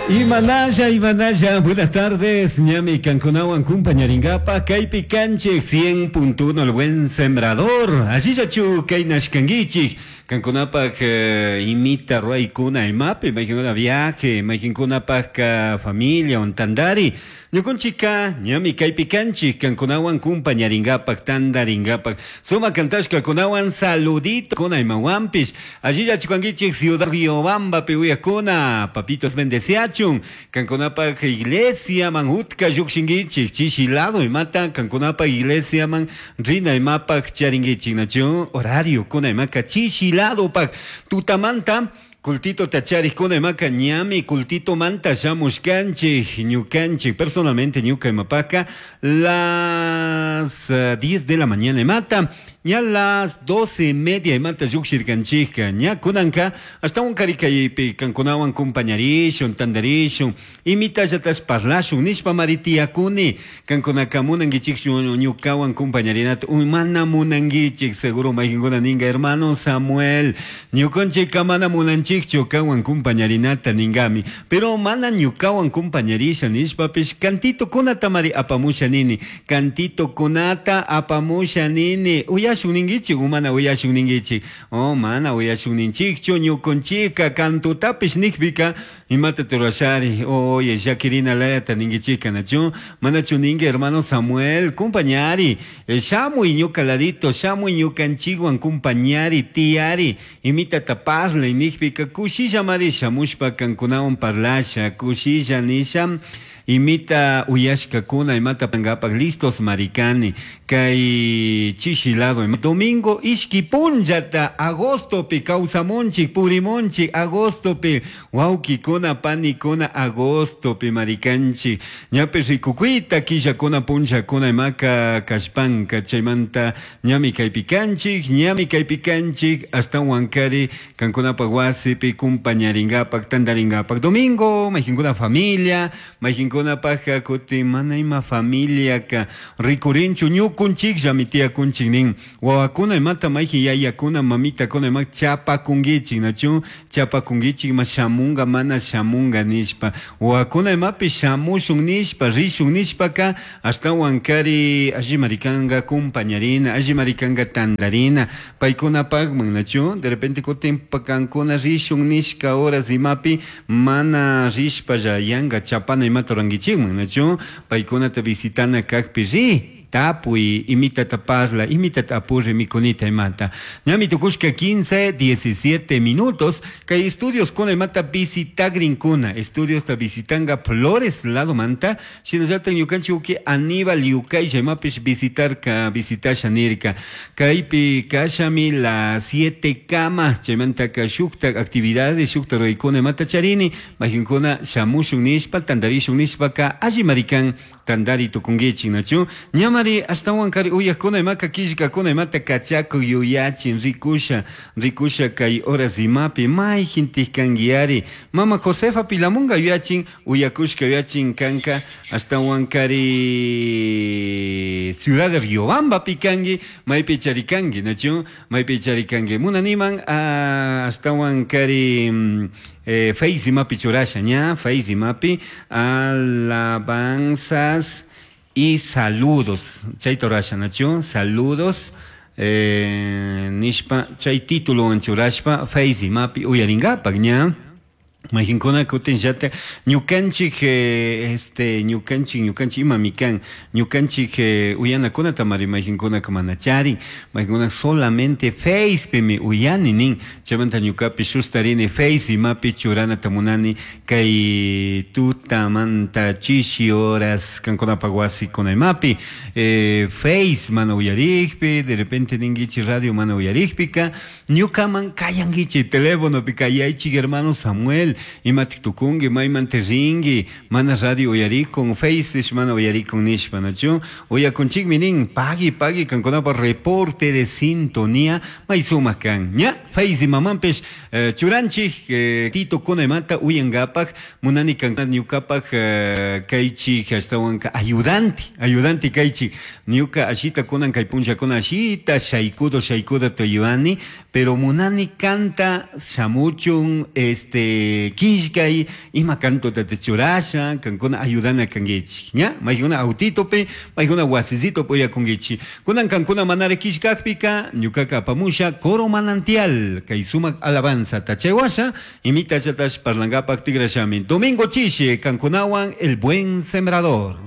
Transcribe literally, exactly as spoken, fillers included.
Imanalla, Imanalla, buenas tardes, ñami kankunawan kumpañaringapa, kaypi kanchik cien punto uno El Buen Sembrador, allillachu kaynashkankichik, kankunapak eh, imita ruwaykuna imapi, mayqinkuna viaje, mayqinkunapak familia tandari, ñukunchikka ñami kaypi kanchik, kankunawan kumpañaringapak, tandaringapak, suma kantashkakunawan saludito kuna imawanpish, allillachu kankichik Ciudad Riobambapi uyakuna, papitos bendeciachun, kankunapak iglesia man utka llukshinkichik, chishi lado imata kankunapak iglesia man rina imapak charinkichik, nachu horario kuna imaka chishi lado pak tutamanta cultito tacharikuna imaka ñami cultito manta shamushkanchik ñukanchik personalmente ñuka imapaka las diez de la mañana imata ña las doce y media imata llukshirkanchikka ña kunanka ashtawan karikaypi kankunawan kumpañarishun tandarishun imitallatas parlashun nishpa mari tiyakuni kankunaka munankichikchu ñukawan kumpañarinata mana munankichik seguro mayqinkuna ninga hermano Samuel ñukanchikka mana munanchikchu kanwan kumpañarinata ningami pero mana ñukawan kumpañarisha nishpapish cantito kunata mari apamusha nini cantito kunata apamusha nini uyashun ninkichik o mana uyashun ninkichik oh mana uyashun ninchikchu ñukunchikka kantutapish nikpika imata turashari oye llakirina layata ninkichikka nachu manachu ninki hermano Samuel kumpañari shamuy ñuka ladito shamuy ñukanchikwan kumpañari tiyari imitata parlay nikpika kushilla mari shamushpa kankunawan parlasha kushilla nisha imita uyashkakuna imata pangapak listos marikani kay chishi lado domingo ishki punllata agostopi kawsamunchik purimunchik agostopi wawkikuna panikuna agostopi marikanchik ñapish rikukuyta killakuna punllakuna imaka kashpanka chaymanta ñami kaypi kanchik ñami kaypi kanchik ashtawankari kankunapak wasipi kumpañaringapak tandaringapak domingo mayqinkuna familia mayqinkuna kunapajka kutin mana ima familiaka rikurinchu ñukunchikllami tiyakunchik nin wawakuna imata mayqin yayakuna mamitakuna ima chapakunkichik nachu chapakunkichik ima shamunga mana shamunga nishpa wawakuna imapi shamushun nishpa rishun nishpaka ashtawankari allimari kanka kumpañarina allimari kanka tandarina paykunapakman nachu de repente kutin kankuna rishun nishka horas imapi mana rishpalla yanka chapana imata rurankichikman nachu paykunata visitana kakpi ri tapuy imitata parla imitata apurri mikunita imata ñami tukushka quince diecisiete minutos kay estudios kuna imata visitagrinkuna estudios ta visitanga Flores lado manta shinallata ñukanchik uki Aníbal Yukaylla imapish visitarka visitasha nirka kaypi kashami las siete kama chaymantaka shuktak actividades shuktak ruraykuna imata charini mayqinkuna shamushun nishpa tandarishun nishpaka alli marikan tandari tukunkichik nachu ñamari ashtawankari uyakuna imaka killkakuna imata kachakuy yuyachin rikusha rikusha kay horas imapi mayqintik kankiyari mama Josefa Pilamunga yuyachin uyakushka yuyachin kanka ashtawankari Ciudad de Riobambapi kanki maypi charikanki nachu maypi charikanki munaniman ashtawankari eh, Face imapi churasha ña Face imapi alabanzas y saludos chayta rurasha nachu saludos eh, nishpa chay título churashpa Face imapi uyaringapak ña mayqinkuna kutinllata ñukanchik eh, este ñukanchik ñukanchik imami kan ñukanchik eh, uyanakunata mari mayqinkunaka mana charin mayqinkuna solamente Facepimi uyani nin chaymanta ñukapish sustarini Face imapi churanata munani kay tutamanta chishi horas kankunapak wasikuna imapi eh, Face mana uyarikpi de repente ninkichik radio mana uyarikpika ñukaman kayankichik telefonopi kayaychik hermano Samuel imatik tukunki maymanta rinki mana radio uyarikun Facepish mana uyarikun nishpa nachu uyakunchikmi nin pagui pagui kankunapak reporte de sintonía may sumak kan ña Face imamanpish eh, churanchik eh, tito kuna imata uyankapak munani kan ñukapak eh, kaychik ashtawanka ayudante ayudante kaychik ñuka ashita kunan kay punllakuna ashita shaykudo shaykudo tuyuani pero munani kanta shamuchun este Killkay ima cantota churasha, kankuna ayudana kankichik, ña? Maykuna autitopi, maykuna wasisitopi uyakunkichik. Kunan kankuna manara killkakpika, ñukaka apamusha coro manantial, kay sumak alabanza tachaywasha, imitachatash parlangapak tigrashami. Domingo chishi, kankunawan el buen sembrador.